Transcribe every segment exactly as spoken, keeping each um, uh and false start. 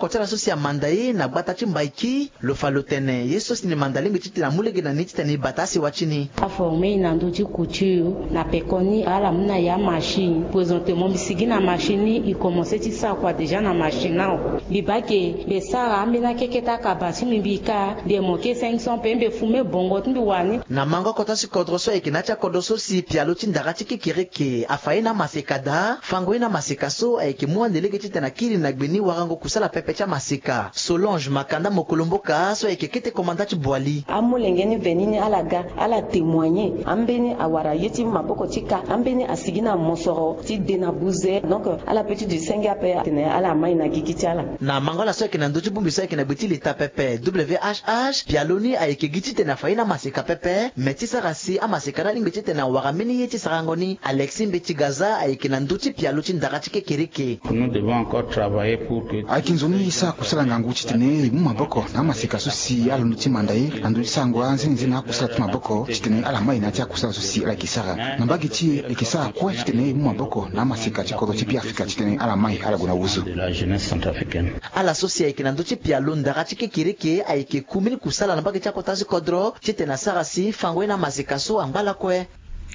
Oko ti ala so si amanda e na gbata ti Mbaiki, lo fa lo tene ye so si ni manda lingbi titene amu lege na ni titene e bata asewa ti ni. Aforme e na ndö ti couture na pekoni, ala mu na e amachine. Présentement mbi sigi na machine ni, e commence ti sara kua déjà na machine ni awe. Mbi baa ke mbi sara ambeni akeke ti akaba ti mbi, mbi ka mbi yeke mo ke cinq cents pe, mbi fume bongo ti mbi wani. Na mango kota si kodro so ayeke na ya ti akodro so si pialo ti ndara ti kekereke afa ye na amaseka daa, fango ye na amaseka so ayeke mu ande lege titene akiri na gbe ni warango kusala pepe ti amaseka. Solange Makanda Mokolomboka so ayeke kete komanda ti Boali. Amolenge ni veni ni ala ga, ala témoigner. Ambeni awara ye ti maboko ti ka, ambeni asigi na mosoro ti de na buze. Donc ala pe ti duti senge ape atene ala mai na gigi ti ala. Na mango ala so ayeke na ndö ti bongbi so ayeke na gbe ti leta pepe, W H H, pialo ni ayeke gi titene afa ye na amaseka pepe, me ti sara si amaseka ni alingbi titene awara mbeni ye ti sarango ni. Alexis Mbeti Gaza ayeke na ndö ti pialo ti ndara ti kekereke. Nous devons encore travailler pour que... Ayeke nzoni e sara kusala ngangu titene e mu maboko na amaseka so si ala londo ti manda e na ndö ti sarango anzenenze na akusala ti maboko titene ala mai na ya ti akusala so si ala yeke sara. Na mbage ti e, e yeke sara kue titene e mu maboko na amaseka ti kodro ti Beafrika titene ala mai ala gue na wuzu. De la jeunesse centrafricaine. Ala so si ayeke na ndö ti pialo ndara ti kekereke ayeke ku mbeni kusala na mbage ti akota ti kodro titene asara si fango ye na amaseka so angba lakue.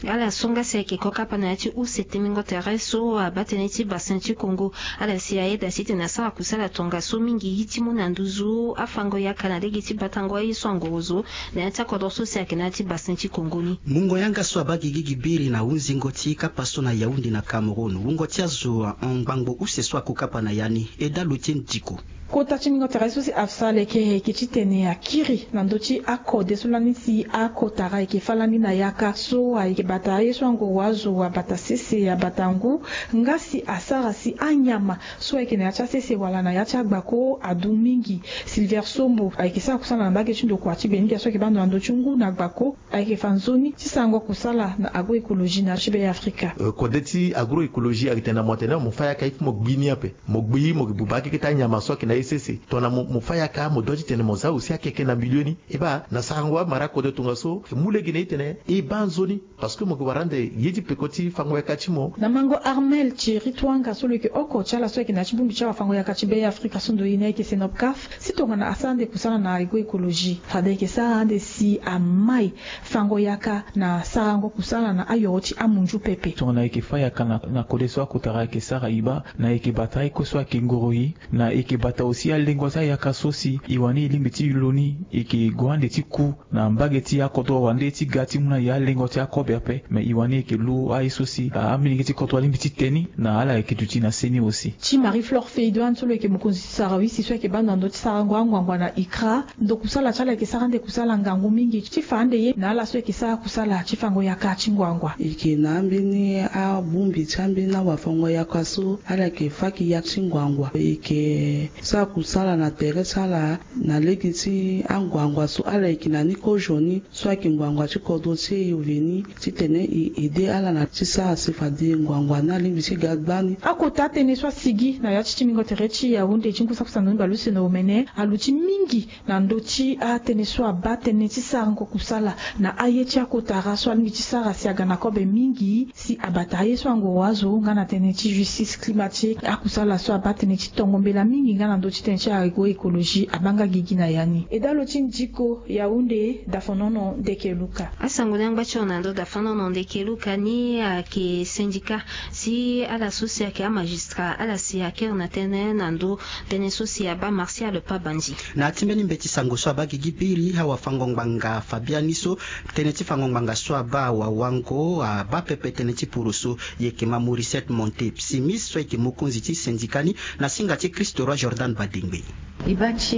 Ala so nga si ayeke kokapa na ya ti use tenengo tere so abaa tënë ti Bassin ti Congo. Ala si ayeda titene asara kusala tongaso mingi ti mu na nduzu afango yaka na lege ti batango aye so angorozo na ya ti akodro so si ayeke na ya ti Bassin ti Congo ni. Mungo yanga so abaa gigi gi biri na hunzingo ti kapa so na Yaoundé na Cameroun, wungo ti azo ahon ngbangbo use so akokapa na ya ni. Eda lo ti ndiko. Kota ti ningo tere so si afsa leke ayeke titene akiri na ndö ti akode so lani si akotara ayeke fâ lani na yaka so ayeke bata aye so angoro azo abata sese abata ngu, nga si asara si anyama so ayeke na ya ti asese wala na ya ti agbako adu mingi. Sylvère Sombo ayeke sara kusala na mbage ti ndokua ti Beninga so ayeke baa ndo na ndö ti ngu na gbako. Ayeke fa nzoni ti sarango kusala na agroecologie na ya ti Be Afrika. Euh, kode ti agroecologie ayeke tene na mo atene mo fâ yaka il faut mo gbi ni ape. Mo gbi, mo yeke buba akeke ti anyama so ayeke na ye sese. Tongana mo, mo fâ yaka, mo dua titene mo za aussi akeke na milieu ni. E baa, na sarango amara kode tongaso, e mu lege na e titene e baa nzoni. Parce que mo yeke wara ande ye ti peko ti fango yaka ti mo. Na mango Armel Thierry Twanga so lo yeke oko ti ala so ayeke na ya ti bongbi ti awafango yaka ti Be Afrika so ndo ye ni ayeke Senopcaf, si tongana asara ande kusala na agroecologie, fade ayeke sara ande si amai fango yaka na sarango kusala na ayoro ti amunzu pepe. Tongana ayeke fâ yaka na, na kode so akotara ayeke sara, e baa na e yeke bata aye kue so ayeke ngoro e, na e yeke bata aussi alengo ti ayaka so si e wani e lingbi ti lo ni e yeke gue ande ti ku na mbage ti akodro wande ti ga ti mu na e alengo ti akobe ape. Me e wani e yeke lu aye so si a, amilenge ti kodro alingbi ti te ni na ala yeke duti na se ni aussi. Ti Marie Flore Feidoine so lo yeke mokonzi ti sarawisi so ayeke baa ndo na ndö ti sarango anguangua na ICRA. Ndo kusala ti ala yeke sara ande kusala ngangu mingi ti fa ande ye na ala so yeke sara kusala ti fango yaka ti nguangua. E yeke na ambeni abongbi ti ambeni awafango yaka so ala yeke fâ ki ya ti nguangua. E yeke sara kusala na tere ti ala na lege ti anguangua so ala yeke na ni kozo ni so ayeke nguangua ti kodro ti e veni titene e aidé ala na ti sara si fade nguangua ni alingbi ti ga gbani. Akota atënë so asigi na ya ti tingbingo tere ti Yaoundé ti ngu saki sango ni bale use na omene aluti mingi na ndö ti atënë so abaa tënë ti sarango kusala na aye ti akotara so alingbi ti sara si aga na kobe mingi si abata aye so angoro azo nga na tënë ti justice climatique, akusala so abaa tënë ti tongo mbela mingi nga na ndö ti tënë ti agroecologie abaa nga gigi na ya ni. E dalo ti ndiko Yaoundé, Dafonono Ndeke Luka. Asango ni angba ti lo na ndö Dafonono Ndeke Luka ni ayeke syndicat ti ala so si ayeke amagistrat, ala si akiri na tënë na ndö tënë so si abaa Martial Pabandji. Na ya ti mbeni mbeti sango so abaa gigi biri, awafango ngbanga fa biani so tënë ti fango ngbanga so abaa awawango abaa pepe tënë ti poroso. E yeke ma Mauricette Monté Psimis so ayeke mokonzi ti syndicat ni na singa ti Christ Roi Jordan Badengbe. E baa ti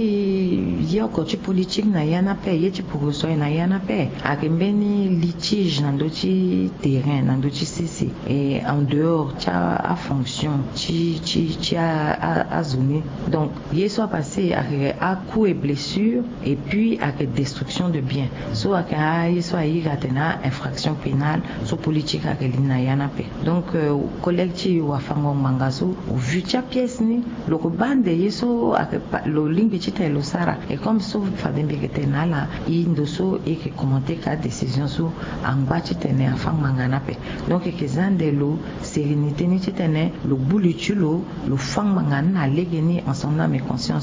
ye oko ti politique na ya ni ape, ye ti poroso aye na ya ni ape. Ayeke mbeni litige na ndö ti terrain, na ndö ti sese, e en dehors ti afonction ti, ti, ti a, a, azo ni. Donc ye so apasse ayeke a-coups et blessures et puis ayeke destruction de biens. So ayeke aye so airi atene a-infraction pénale so politique ayeke li na ya ni ape. Donc, euh, collègue ti e wafango ngbanga so, au vu ti apièce ni, lo ko baa ande ye so ayeke pa, lo lingbi titene lo sara. Et comme so fade mbi yeke tene na ala, e ndo so e yeke commenter ka décision so angba titene afâ ngbanga ni ape. Donc e yeke za ande lo sérénité ni titene lo gbu li ti lo, lo fâ ngbanga ni na lege ni en son âme et conscience.